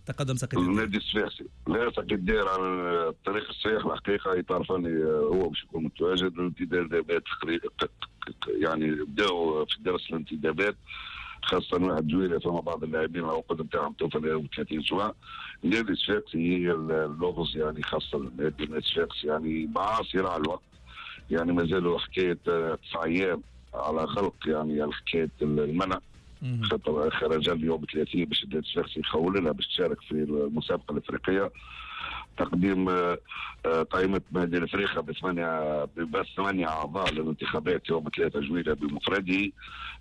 تقدم ساقية النادي الصفاقسي. لا، ساقية الدائرة على الطريق الصحيح الحقيقة، إطار فني هو باش يكون متواجد. الانتدابات يعني بداوا في درس الانتدابات، خاصة 1 جويلية فما بعض اللاعبين العقود نتاعهم توفى 30 جوان. النادي الصفاقسي هي اللغز، يعني خاصة النادي الصفاقسي يعني مع صراع الوقت، يعني مازالوا حكاية 9 أيام على غلق يعني حكاية المنع، خاطر خرج اليوم 30 باش النادي الصفاقسي يخول لها باش تشارك في المسابقة الأفريقية. تقديم قائمة نادي الافريقيا بثمانية، بس 8 أعضاء للانتخابات يوم 3 جويلية بمفرده.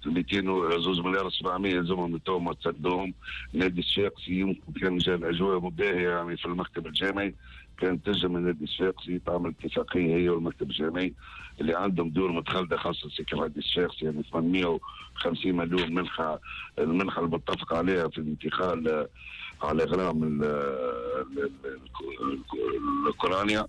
202 مليار 700 يلزمهم تو تسدوهم. نادي الصفاقسي يمكن كان جا الأجواء باهية يعني في المكتب الجامعي، كان تنجم النادي الصفاقسي تعمل اتفاقية هي والمكتب الجامعي اللي عندهم دور متخلدة، خاصة سكة النادي الصفاقسي، يعني 850 مليون منحة، المنحة المتفق عليها في الانتقال على غرام الاوكرانيا،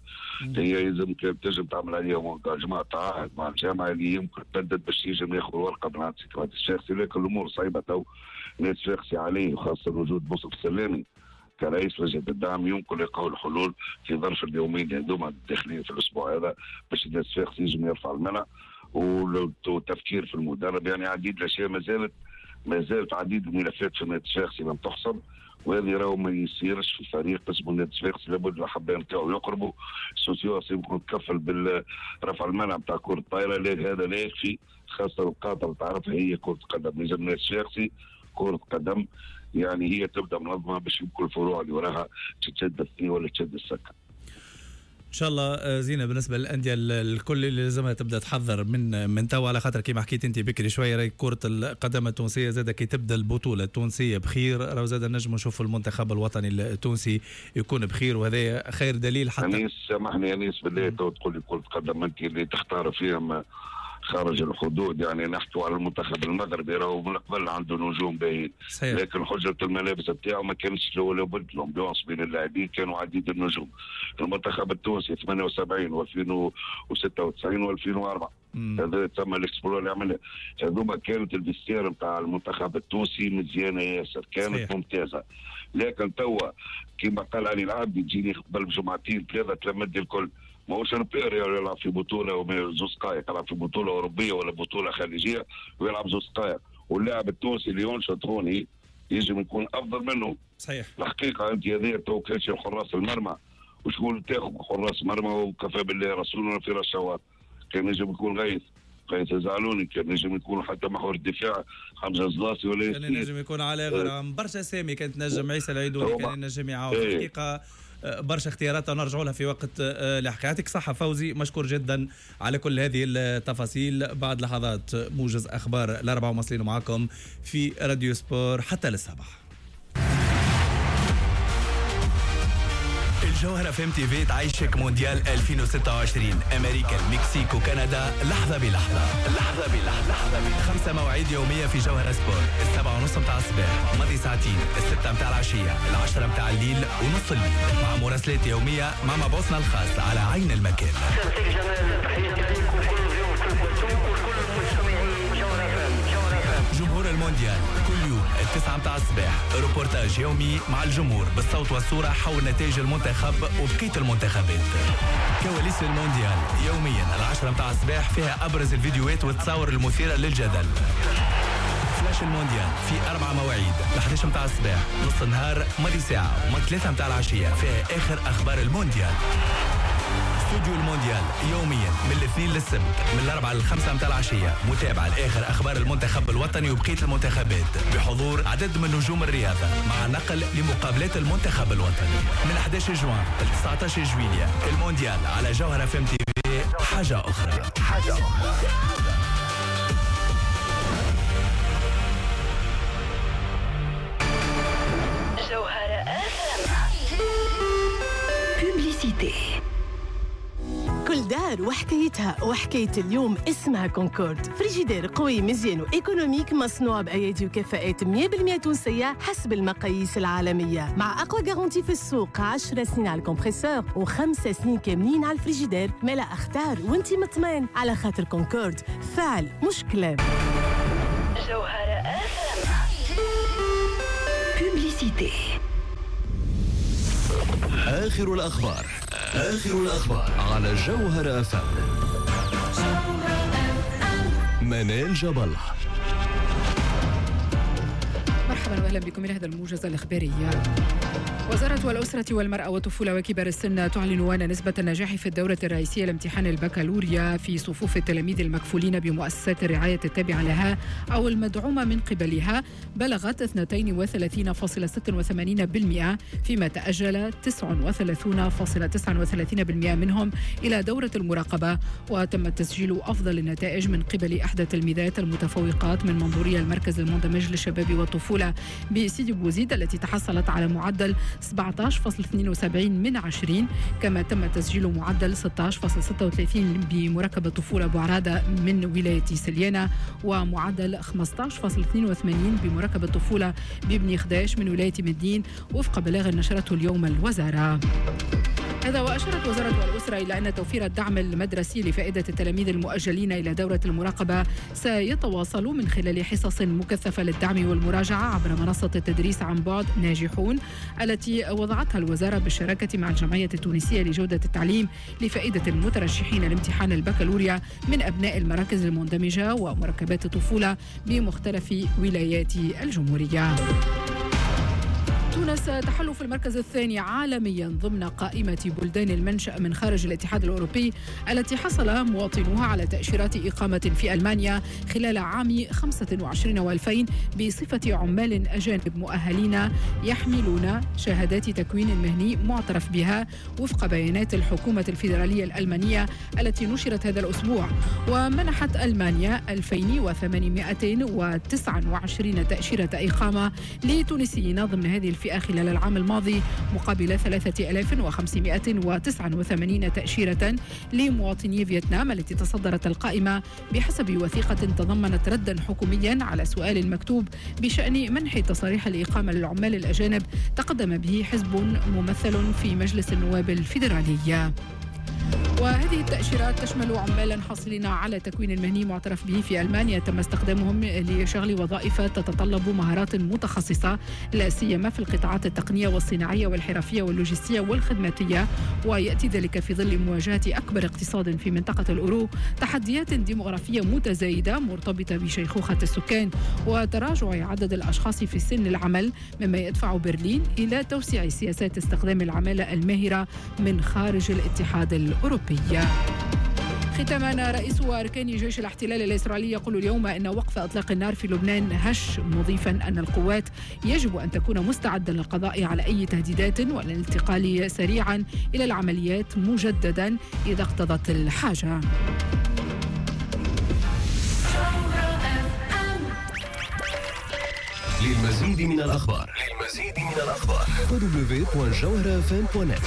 هي يلزم تنجم تعمل عليها engagement، تعهد مع الجامعة اللي يمكن تبدد باش ينجم ياخذ ورقة من عند النادي الصفاقسي. لكن الامور صعيبة تو. النادي الصفاقسي عليه، وخاصة وجود منصف السلامي كرئيس لجنة الدعم، يمكن لقاء الحلول في ظرف اليومين هذوما الداخلين في الاسبوع هذا باش النادي الصفاقسي ينجم يرفع المنع، والتفكير في المدرب، يعني عديد الاشياء ما زالت عديد الملفات في النادي الصفاقسي لم تحسم. وهذه راهو ما يصيرش في فريق اسمه النادي الصفاقسي، لابد الاحباء نتاعو يقربوا. السوسيوس يمكن تكفل بالرفع المنع نتاع كرة الطايرة، هذا لا يكفي، خاصة القاطر تعرفها هي كرة قدم. لازم النادي الصفاقسي كرة قدم يعني هي تبدا منظمة باش يمكن الفروع اللي وراها تشد الثنية ولا تشد السكة. ان شاء الله زينه. بالنسبة للاندية الكل اللي لازمها تبدا تحضر من توا، على خاطر كيما حكيت انت بكري شويه، راهي كره القدم التونسية زاده كي تبدا البطولة التونسية بخير، راهو زاد نجم نشوف المنتخب الوطني التونسي يكون بخير، وهذا خير دليل حتى. انيس، سامحني انيس بالله، تو تقول لي كره قدم، انت اللي تختار فيهم خارج الحدود، يعني نحكوا على المنتخب المغربي راهو من قبل عنده نجوم باهيين، لكن حجرة الملابس بتاعه ما كانش ولا بد، l'ambiance بين اللاعبين كانوا عديد النجوم. المنتخب التونسي 78 و2096 و2004، هذا تسمى l'exploit اللي عملها، هذوما كانت ال vestiaire نتاع المنتخب التونسي مزيانه ياسر، كانت ممتازه. لكن توا كما قال علي العابدي، تجيني قبل بجمعتين ثلاثة تلمد الكل، ماهوش repère يلعب في بطوله 2 دقائق، يلعب في بطوله اوروبية ولا بطوله خليجية ويلعب 2 دقائق، واللاعب التونسي اللي ينشط هوني يجب يكون افضل منه. الحقيقة انت هذه تو كانش حراس المرمى، وشكون تاخذ حراس مرمى؟ وكفى بالله رسولنا في رشوات. كان يجب يكون غيث زعلوني، كان ينجم يكون حتى محور الدفاع حمزة زلاصي ولا كان ينجم يكون على غرام برشا اسامي، كانت نجم عيسى العيدوني كان ينجم يعاون. الحقيقة برشا اختيارات نرجعوا لها في وقت لاحق. يعطيك صحة فوزي، مشكور جدا على كل هذه التفاصيل. بعد لحظات موجز أخبار 4، ومواصلين معكم في راديو سبور حتى للسبعة. الجوهرة اف ام تي في تعيشك مونديال 2026، امريكا، المكسيك وكندا، لحظة بلحظة، لحظة بلحظة، لحظة بلحظة. خمسة مواعيد يومية في جوهرة سبور: 7:30 متاع الصباح، ماضي ساعتين، 6 متاع العشية، 10 متاع الليل ونص الليل، مع مراسلات يومية مع مبعوثنا الخاص على عين المكان. تحياتي لكم كل ضيوف وكل مستمعي جوهرة. جمهور المونديال كل يوم 9 متاع الصباح، روبورتاج يومي مع الجمهور بالصوت والصورة حول نتائج المنتخب وبقية المنتخبات. كواليس المونديال يوميا 10 متاع الصباح، فيها أبرز الفيديوهات والتصاور المثيرة للجدل. فلاش المونديال في أربع مواعيد: 11 متاع الصباح، نص النهار، ماضي ساعة وما 3 متاع العشية، فيها آخر أخبار المونديال. استوديو المونديال يوميا من الاثنين للسبت من 4 لل5 متاع العشية، متابعة لآخر أخبار المنتخب الوطني وبقية المنتخبات بحضور عدد من نجوم الرياضة مع نقل لمقابلات المنتخب الوطني. من 11 جوان ل 19 جويليا، المونديال على جوهرة اف ام تي في، حاجة أخرى، حاجة أخرى. جوهرة publicité. كل دار وحكايتها، وحكاية اليوم اسمها كونكورد. فريجيدير قوي، مزيان و économique، مصنوع بأيادي وكفاءات 100% تونسية حسب المقاييس العالمية، مع أقوى garantie في السوق: 10 سنين على ال compresseur و5 سنين كاملين على الفريجيدير. مالا اختار وانت مطمئن، على خاطر كونكورد فعل مش كلام. جوهرة publicité. آخر الأخبار، آخر الأخبار على جوهرة أف أم. منال جبل. مرحبا واهلا بكم الى هذا الموجز الاخباري. وزارة الأسرة والمرأة والطفولة وكبار السن تعلن أن نسبة النجاح في الدورة الرئيسية لامتحان البكالوريا في صفوف التلاميذ المكفولين بمؤسسات الرعاية التابعة لها أو المدعومة من قبلها بلغت 32.86%، فيما تأجل 39.39% منهم إلى دورة المراقبة. وتم تسجيل أفضل النتائج من قبل إحدى التلميذات المتفوقات من منظورية المركز المندمج للشباب والطفولة بسيدي بوزيد التي تحصلت على معدل 17.72 من 20، كما تم تسجيل معدل 16.36 بمركب الطفولة بوعرادة من ولاية سليانة، ومعدل 15.82 بمركب الطفولة بابن خداش من ولاية مدين، وفق بلاغ نشرته اليوم الوزارة. هذا وأشارت وزارة الأسرة إلى أن توفير الدعم المدرسي لفائدة التلاميذ المؤجلين إلى دورة المراقبة سيتواصل من خلال حصص مكثفة للدعم والمراجعة عبر منصة التدريس عن بعد ناجحون التي وضعتها الوزارة بالشراكة مع الجمعية التونسية لجودة التعليم لفائدة المترشحين لامتحان البكالوريا من أبناء المراكز المندمجة ومركبات الطفولة بمختلف ولايات الجمهورية. تونس تحل في المركز الثاني عالميا ضمن قائمة بلدان المنشأ من خارج الاتحاد الأوروبي التي حصل مواطنوها على تأشيرات إقامة في ألمانيا خلال عام 25 و2000 بصفة عمال أجانب مؤهلين يحملون شهادات تكوين مهني معترف بها وفق بيانات الحكومة الفيدرالية الألمانية التي نشرت هذا الأسبوع. ومنحت ألمانيا 2829 تأشيرة إقامة لتونسيين ضمن هذه الفئة خلال العام الماضي مقابل 3589 تأشيرة لمواطني فيتنام التي تصدرت القائمة بحسب وثيقة تضمنت ردا حكوميا على سؤال مكتوب بشأن منح تصاريح الإقامة للعمال الأجانب تقدم به حزب ممثل في مجلس النواب الفيدرالي. وهذه التأشيرات تشمل عمالا حاصلين على تكوين مهني معترف به في ألمانيا تم استخدامهم لشغل وظائف تتطلب مهارات متخصصة لا سيما في القطاعات التقنية والصناعية والحرفية واللوجستية والخدماتية، ويأتي ذلك في ظل مواجهة أكبر اقتصاد في منطقة الأورو تحديات ديموغرافية متزايدة مرتبطة بشيخوخة السكان وتراجع عدد الأشخاص في سن العمل، مما يدفع برلين إلى توسيع سياسات استخدام العمالة الماهرة من خارج الاتحاد الأوروبي. ختاما، رئيس أركان جيش الاحتلال الإسرائيلي يقول اليوم أن وقف إطلاق النار في لبنان هش، مضيفا أن القوات يجب أن تكون مستعدة للقضاء على أي تهديدات والانتقال سريعا إلى العمليات مجددا إذا اقتضت الحاجة. للمزيد من الأخبار www.jawharafm.net.